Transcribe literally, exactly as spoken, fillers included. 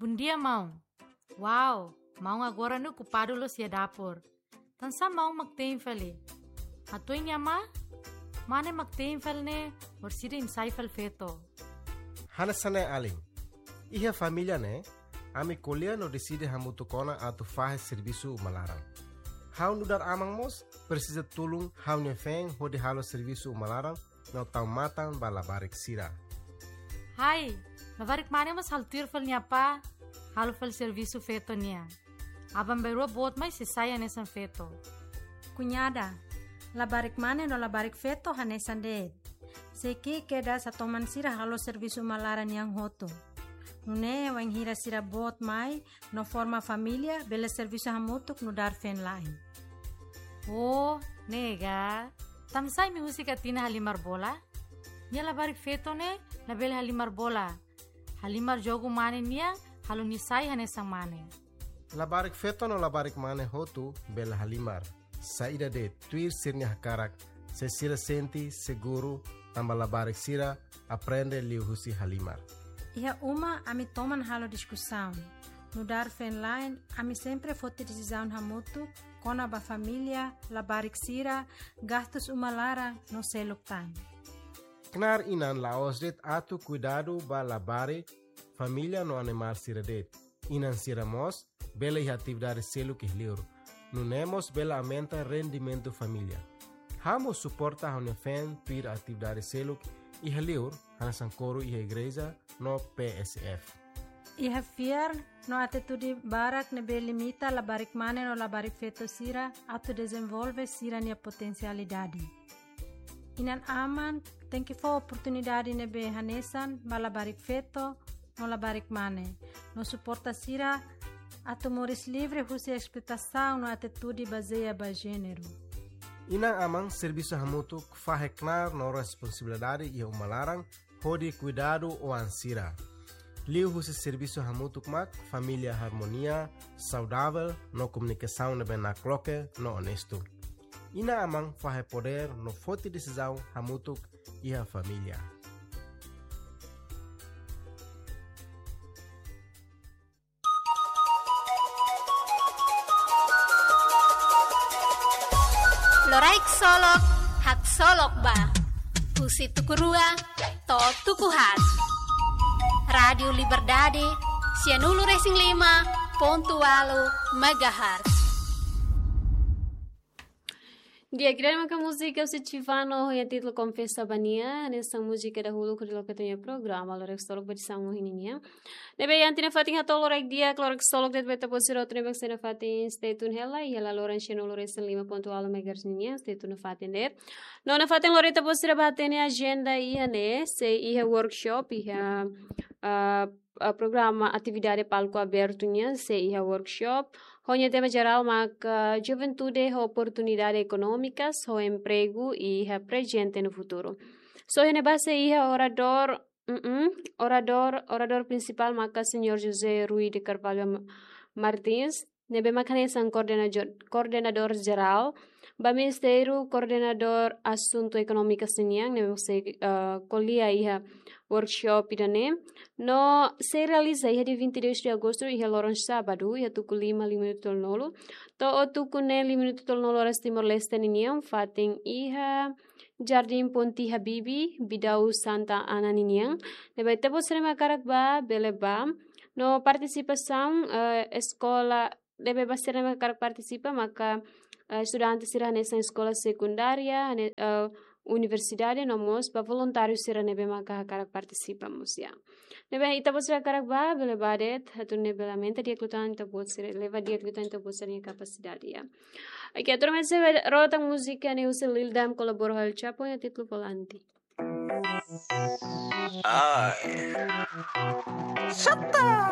Bondia, maun. Wow, maun agora ne'e okupadu loos iha dapur. Tansá maun mak te'in fali? Hatudu nia mane, mane mak te'in fali ne'e, orsida imi sai fali feto. Hanesan ne'e alin. Iha família ne'e, ami ko'alia no deside hamutuk ona atu fahe servisu uma laran. Ha'u nu'udar aman mós presiza tulun ha'u-nia feen hodi halo servisu uma laran no tau matan ba labarik sira. Hai, labarik mane mós halo tuir fali nia apá, halo fali servisu feto nian. Aban-bainrua boot mai sei sai hanesan feto. Kuñada, labarik mane no labarik feto hanesan de'it. Sei ki'ik kedas hatoman sira halo servisu uma laran nian hotu. Nune'e wainhira sira boot mai no forma família, bele servisu hamutuk nu'udar feen-la'en. Oh, ne'e ka. Tansá imi husik Atina halimar bola? Nia labarik feto ne'e labele halimar bola. Halimar jogu mane nian, halo nia sai hanesan mane. Labarik feto no labarik mane hotu bele halimar. Saida de'it, tuir sira-nia hakarak, se sira sente seguru, tanba labarik sira aprende liuhusi halimar. Iha uma ami toman halo diskusaun. Nu'udar feen-la'en, ami sempre foti desizaun hamutuk kona-ba família, labarik sira, gastus uma laran no seluk tan. Knaar inan la'ós de'it atu kuidadu ba labarik, família no animál sira de'it. Inan sira mós bele iha atividade seluk iha liur. Nune'e mós bele aumenta rendimentu família. Ha'u mós suporta ha'u-nia feen tuir atividade seluk iha liur, hanesan koru iha igreja no P S F. Iha fiar no atitude barak ne'ebé limita labarik mane no labarik feto sira atu dezenvolve sira-nia potensialidade. Inan-aman tenke fó oportunidade ne'ebé hanesan ba labarik feto no labarik mane, no suporta sira atu moris livre husi esploitasaun no atitude bazeia ba jéneru. Inan-aman servisu hamutuk fahe knaar no responsabilidade iha uma laran hodi kuidadu oan sira. Liuhusi servisu hamutuk mak família harmonia, saudavel no komunikasaun ne'ebé nakloke no onestu. Inan-aman fahe podér no foti desizaun hamutuk iha família. Loraik Solok, haksolok ba. Husi tuku rua to'o tuku haat. Rádiu Liberdade, sianulu resin lima pontu ualu megahertz. Di'ak, ida-ne'e maka múzika husi Chivano ho nia títulu Konfesa ba Nia, hanesan múzika dahuluk hodi loke ita-nia programa Loraik Solok ba edisaun ohin nian. Ne'ebé iha ita-nia fatin hato'o loraik di'ak, loraik solok de'it ba ita-boot sira hotu ne'ebé sei nafatin stay tune hela, iha laloran sianulu resin lima pontu ualu megahertz nian, stay tune nafatin de'it. No nafatin lori ita-boot sira ba hatene ajenda iha ne'e, sei iha workshop, iha, ah, ah, programa atividade palku abertu nian, sei iha workshop. Ho nia tema jerál maka, ah, Juventude ho Oportunidade Ekonómikas, ho Empregu iha Prezente no Futuru. So iha ne'ebá sei iha oradór, mm, oradór, oradór prinsipál maka Señór José Rui de Carvalho Ma-, Martins, ne'ebé maka hanesan koordenadór, koordenadór jerál ba Ministériu Koordenadór Asuntu Ekonómiku nian, ne'ebé maka sei, eh, ko'alia iha workshop ida-ne'e. No sei realiza iha dia vinte e dois de agosto, iha loron sábadu, iha tuku lima, lima minutu tolunulu to'o tuku neen, lima minutu tolunulu oras Timor-Leste ninian, fatin iha Jardim Ponti Habibie, Bidau Santa Ana ninian. Ne'ebé ita-boot sira ne'ebé hakarak ba, bele ba. No partisipasaun, eh, eskola, ne'ebé ba sira ne'ebé hakarak partisipa, maka, eh, estudante sira hanesan eskola sekundária, hane-, eh, universidade, no mós ba voluntáriu sira ne'ebé maka hakarak partisipa mós, ya. Ne'ebé ita-boot sira hakarak ba, bele ba de'it, atu nune'e bele aumenta di'ak liután ita-boot sira, leva di'ak liután ita-boot sira-nia kapasidade, ya. Oke, atu nune'e sei rota múzika ne'e husi Lil Dam kolabora ho El Chapo, nia títulu Volante. Ai. Xata!